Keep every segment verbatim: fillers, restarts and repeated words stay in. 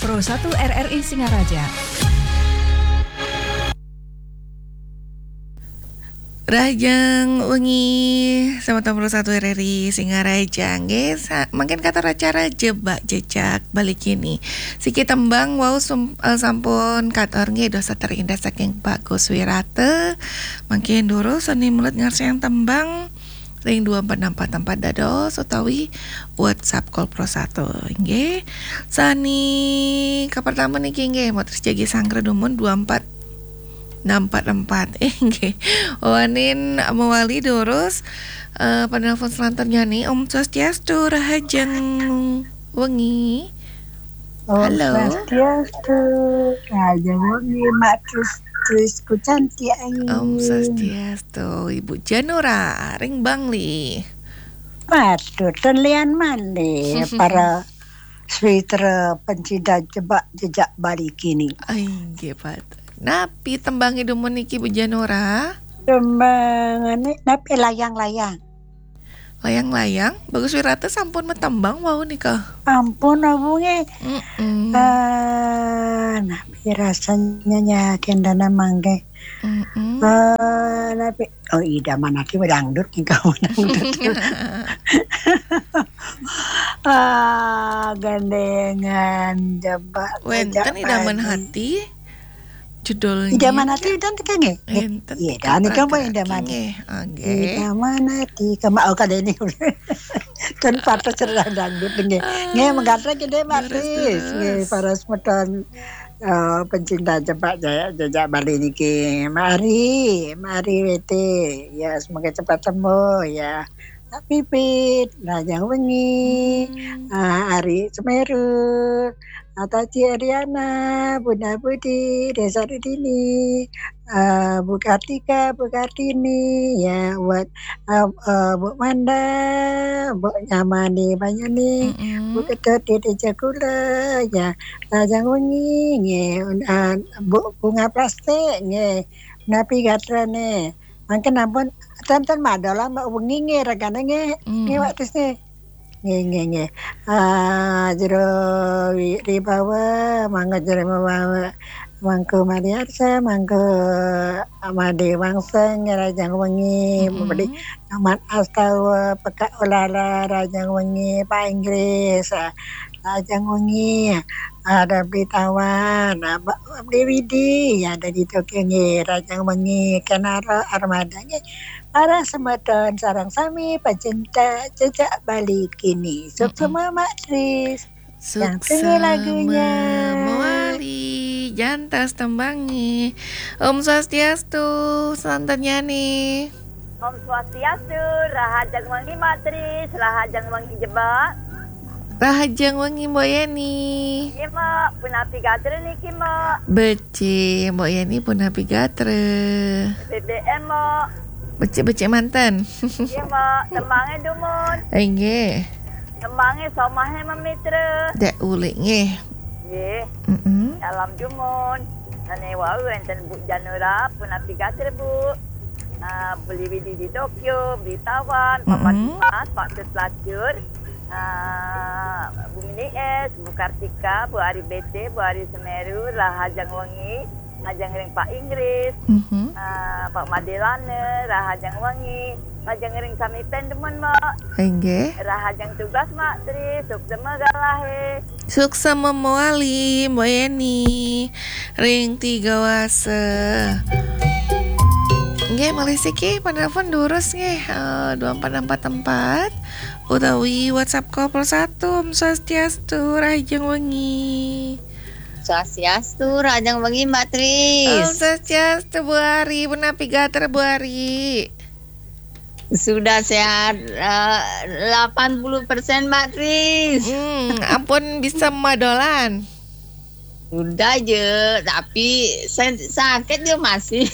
Pro satu R R I Singaraja. Rahajeng wengi, semeton Pro satu R R I Singaraja, nggih, sa-, mangkin katur acara Jebak Jejak Bali Kini. Siki tembang wau sum-, eh, sampun katur, nggih, dados terindah saking Bagus Wirata. Mangkin durus sami melet ngarsayang tembang ring dua empat enam empat empat dados utawi WhatsApp Call Pro satu, nggih. Sami kapertama niki, nggih, matur jagi sanggra dumun dua empat enam empat empat. Eh, nggih. Wangsulin mawali durus, eh, penelpon selanjutnya nih. Om Swastiastu, rahajeng wengi. Om Halo. Swastiastu, rahajeng wengi, Mak Tris, Tris ku cantik ayu. Om Swastiastu, Ibu Janura, ring Bangli. Matur, ten lian malih, para sawitra pencinta Jebak Jejak Bali Kini. Ai, nggih, Pak. Napi tembangé dumun niki, Bu Janura? Tembangé napi, Layang-layang. Layang-layang, Bagus Wirata sampun matembang wau nika. Ampun, wau nggih. Mm-mm. Ah, napi rasanya nya kendana mangke. Mm-mm. Ah, napi, oh, idaman ati dangdut nika, dangdut. Ah, gandengan jebak Wénten jejak idaman Bali. Hati. Judulnya Idaman Ati udan teka nggih? Enten Iya, teka dan ikan pun Pragati Idaman. Nggih, nggih. Idaman Ati kema, oh, kada ini. Kan patah cerah dangdut nggih. Nggih, ah, menggatrek nggih, Mak Tris. Nggih, terus. Para semeton, eh, pencinta jebak jaya jejak Bali niki. Mari, mari Wete. Ya, semoga cepat sembuh ya. Pak Pipit, Rahajeng Wengi, hmm, ah, Ari Semeru, Ataji Ariana, Bunda Budi, Desa Dudini, ah, Bu Kartika, Bu Kartini, ya, buat, ah, ah, Bu Manda, Bu Nyamani Banyuni, mm-mm, Bu Ketut, Dede Jakula, ya, Rahajeng Wengi, nggih, ah, Bu Bunga Plastik, nggih, napi gatrane. Mangkin ampun, ten, ten madolan, Mbak, wengi nggih, ragane nggih. Hmm. Nggih, Mbak Tis nggih. Nggih, nggih, nggih. Ah, Jero Wi-, Ribawa, mangga Jero Ribawa, Mangku Mariarsa, Mangku Made Wangsa, nggih, Rahajeng Wengi, mm-mm, Made Amat Astawa, Pekak Ulala, Rahajeng Wengi, Pak Inggris, ah, Rahajeng Wengi, ada Beli Tawan, ah, Ba-, Beli Widi, ya, ada di Tokyo nggih, Rahajeng Wengi, Kenaro Armada nggih. Para semeton sareng sami pecinta jejak Bali kini. Suksma, mm-mm, Mak Tris. Yang tengah lagunya. Suksma mawali, jantos tembangé. Om Swastiastu, santennyane. Om Swastiastu, Rahajeng Wengi Mak Tris, Rahajeng Wengi Jebak. Rahajeng Wengi Mbok Yeni. Nggih, Mak, punapi gatra niki, Mak? Becik, Mbok Yeni punapi gatra? B B M, Mak. Becik-becik manten. Nggih, Mak, tembangé dumun. Inggih. Tembangé Somahe Memitra. Dek ulik nggih. Nggih. Mm-mm. Salam dumun. Sane wau wenten Bu Janura, punapi gatra, Bu. Ah, Beli Widi di Tokyo, Beli Tawan, Papa, mm-mm, Dimas, Pak Tus Lacur, ah, Bu Mini Es, Bu Kartika, Bu Ari B T, Bu Ari Semeru, Rahajeng Wengi, Rahajeng ring Pak Inggris, mhm, ah, Pak Madelane, Rahajeng Wengi, Rahajeng ring sami pen dumun, Mak. Inggih. Rahajeng tugas, Mak Tri, suksma galahe. Suksma mawali, Mbok Yeni. Ring Tiga Wasa. Nggih, malih siki penelpon durus nggih, eh, dua empat enam empat empat utawi WhatsApp Call Pro satu. Om Swastiastu, Rahajeng Wengi. Swastiastu, Rahajeng Wengi, Mbak Tris. Om Swastiastu, Bu Ari. Punapi gatra, Bu Ari? Sudah sehat, eh, delapan puluh persen, Mbak Tris. Hmm, ampun bisa madolan? Sudah je, tapi sen-, sakit je masih.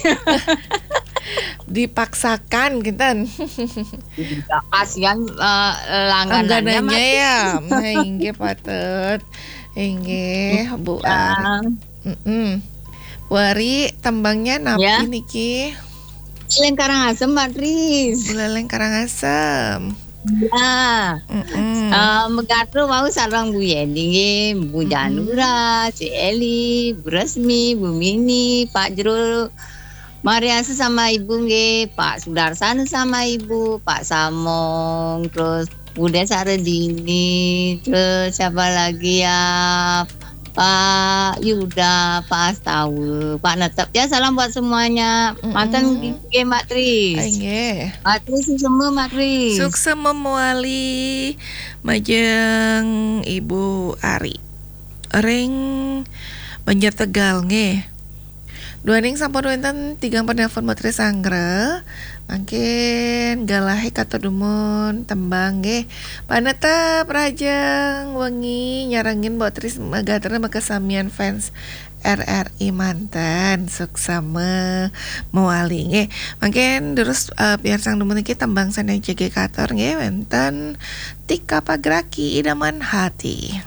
Dipaksakan, kinten. Iya, kasihan, eh, langganannya, langganannya mati. Ya. Nah, inggih patut. Inggih, Bu Ari. Ah. Mm-mm. Bu Ari, tembangnya napi, ya, niki? Buleleng Karangasem, Mbak Tris. Buleleng Karangasem. Ya. Mm-mm. Uh, Megatru mau sareng Bu Yeni nggih, Bu Janura, si Eli, Bu Resmi, Bu Mini, Pak Jero, Mariasa sama Ibu nggih, Pak Sudarsana sama Ibu, Pak Samong, terus Bude Saredini, terus siapa lagi ya? Pak Yuda, Pak Astawa, Pak Netep. Ya, salam buat semuanya. Manten nggih, Mbak Tris. Nggih. Mbak Tris, semua Mbak Tris. Sukses memuali majeng Ibu Ari. Ring Banjar Tegal nggih. Duaning sampun wenten tigang penelpon Mbok Tris Anggra. Mangkin galahe katur dumun tembang nggih. Panetep rajeng wengi nyarengin Mbok Tris Megatru makasamian fans R R I manten. Suksma mewali nggih. Mangkin terus uh, piarsang dumun niki tembang sane jege katur nggih wenten Tika Pagraki Idaman Hati.